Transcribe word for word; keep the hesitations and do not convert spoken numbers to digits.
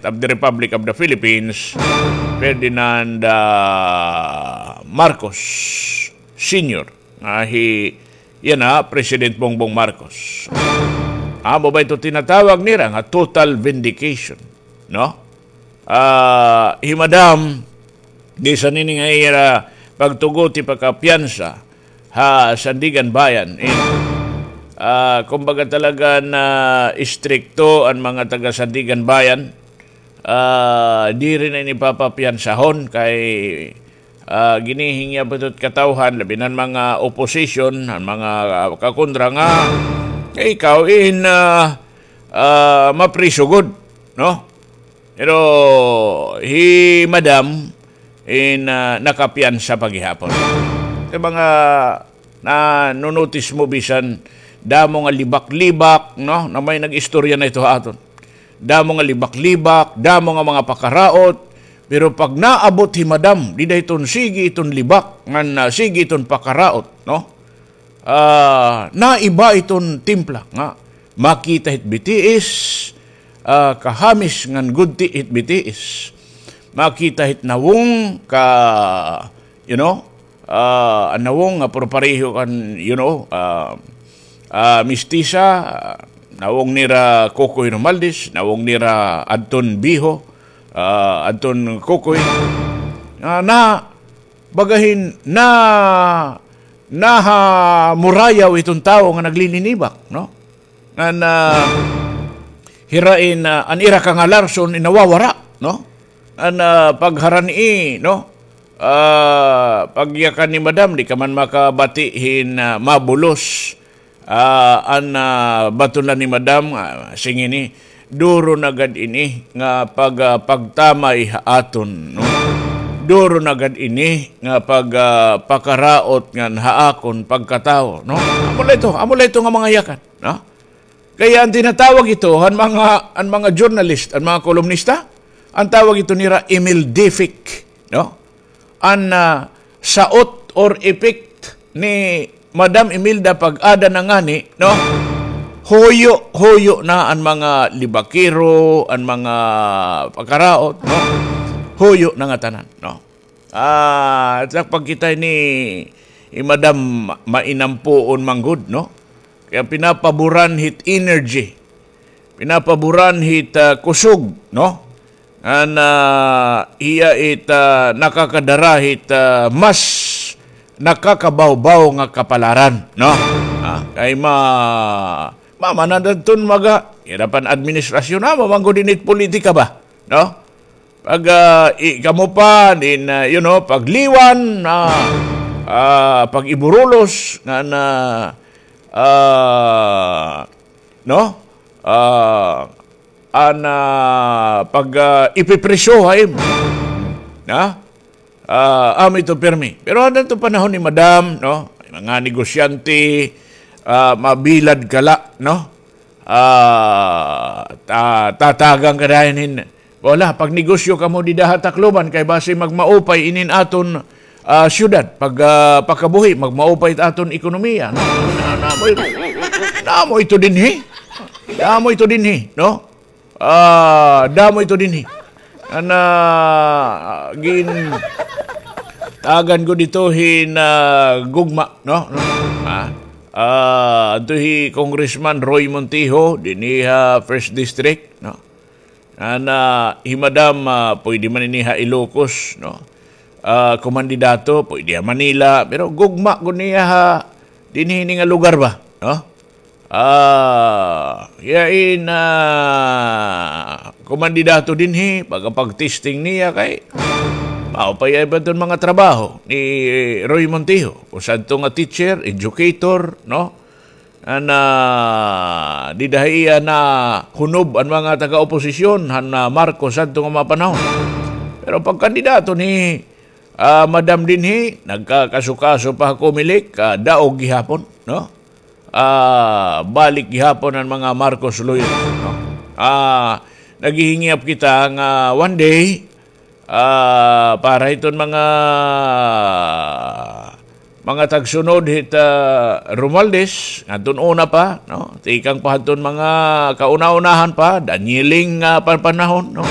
of the Republic of the Philippines, Ferdinand, ah, Marcos Senior, nga hi, yana, President Bongbong Marcos. Amo ba ito tinatawag nira nga total vindication, no? Ah, hi Madam, bisan ini nga ira pagtugot, pagkapiyansa ha Sandiganbayan. In, ah, kumbaga talaga na istrikto an mga taga Sandiganbayan. Ah, diri na ini papapiyansahon kay, ah, ginhihingyap ito hit katawhan, labi na an mga opposition, an mga, ah, kakontra nga, nga ikaw in, ah, ah, mapriso gud, no? Pero hi Madam in, ah, nakapiyansa pa gihapon. Kay mga na-notice mo bisan damo nga libak-libak, no? Na may nag-istorya na ito ha aton. Damo nga libak-libak, damo nga mga pakaraot, pero pag naabot hi Madam, dida hiton sige iton libak, ngan, ah, sige iton pakaraot, no? Ah, naiba iton timpla nga makita hit bitiis, ah, kahamis ngan gudti hit bitiis. Makita hit nawong ka, you know, ah, an nawong nga puro pareho kan, you know, ah, ah, mistisa, ah, nawong nira Kokoy Romualdez, nawong nira Adton Biho, ah, Adton Kokoy. Ah, na, bagahin na, nahamurayaw iton tawo nga naglilinibak, no? Ngan, ah, hira in, ah, an ira kangalarson in nawawara, no? An, ah, pagharani, no? Ah, pagyakan ni Madam, di ka man makabati hin, ah, mabulos. Ah, an, ah, baton la ni Madam, ah, sing ini, duro na gad ini nga pag, ah, pagtamay ha aton, no? Duro na gad ini nga pag, ah, pakaraot ngan ha akon pagkatawo, no? Amo la ito, amo la ito nga mga yakan, no? Kaya an tinatawag ito, an mga, an mga journalist, an mga kolumnista, an tawag ito nira Emildefic, no? An, ah, saot or effect ni Madam Imelda pag-ada na ngani, no? Huyo, huyo na an mga libakero, an mga pakaraot, no? Huyo na ngatanan, no? Ah, sa pagkita ni, ni Madam, mainampuon man gud, no? Kaya pinapaboran hit energy. Pinapaboran hit, ah, kusog, no? Ngan, ah, hiya it, ah, nakakadara hit, ah, mas nakakabawbaw nga kapalaran, no? Ah, kay ma-, mama na dadton maga, hirapan administrasyon, ah, mamanggo din it politika ba, no? Pag, ah, i-, kamo pa, din, ah, you know, pagliwan, ah, ah, pag-iburulos, ngan, ah, no? Ah, an, ah, pag, ah, ipipriso ha imo. Na? Ah, amo ito pirmi. Pero an aton panahon ni Madam, no? Mga negosyante, ah, mabilad ka la, no? Ah, ta-, tatagan ka dayon hin. Wala, pagnegosyo kamo dida ha Tacloban, kay basi magmaupay inin aton, ah, syudad, pag, ah, pagkabuhi, magmaupay it aton ekonomiya, no? Na, namoy, namoy ito dinhi. Namoy ito dinhi, no? Ah, damo ito dinhi. An, ah, gin-, tagan ko dito hin, ah, gugma, no? Ah, ah, adto hi Congressman Roy Montijo, dinhi ha First District, no? An, ah, hi Madam, ah, pwede man ini ha Ilocos, no? Ah, kumandidato, pwede ha Manila, pero gugma ko niya ha, dinhi ini nga lugar ba, no? Ah, yain, ah, kumandidato dinhi, pagkapag-testing niya kay, maupay ay ba iton mga trabaho ni Roy Montijo? Usa adto nga teacher, educator, no? An, ah, dida ha iya nahunob an mga taga-oposisyon, han, ah, Marcos adto nga mga panahon. Pero pagkandidato ni, ah, Madam dinhi, nagkakasukaso pa ha Comelec, ah, daog gihapon, no? Ah, balik gihapon an mga Marcos loyal, no? Ah, naghihingyap kita nga one day, ah, para hiton mga, mga tagsunod hit, ah, Romualdez, ngadton una pa, no? Tikang pa hadton mga kauna-unahan pa, Daniel Eng, ah, pan-, panahon, no?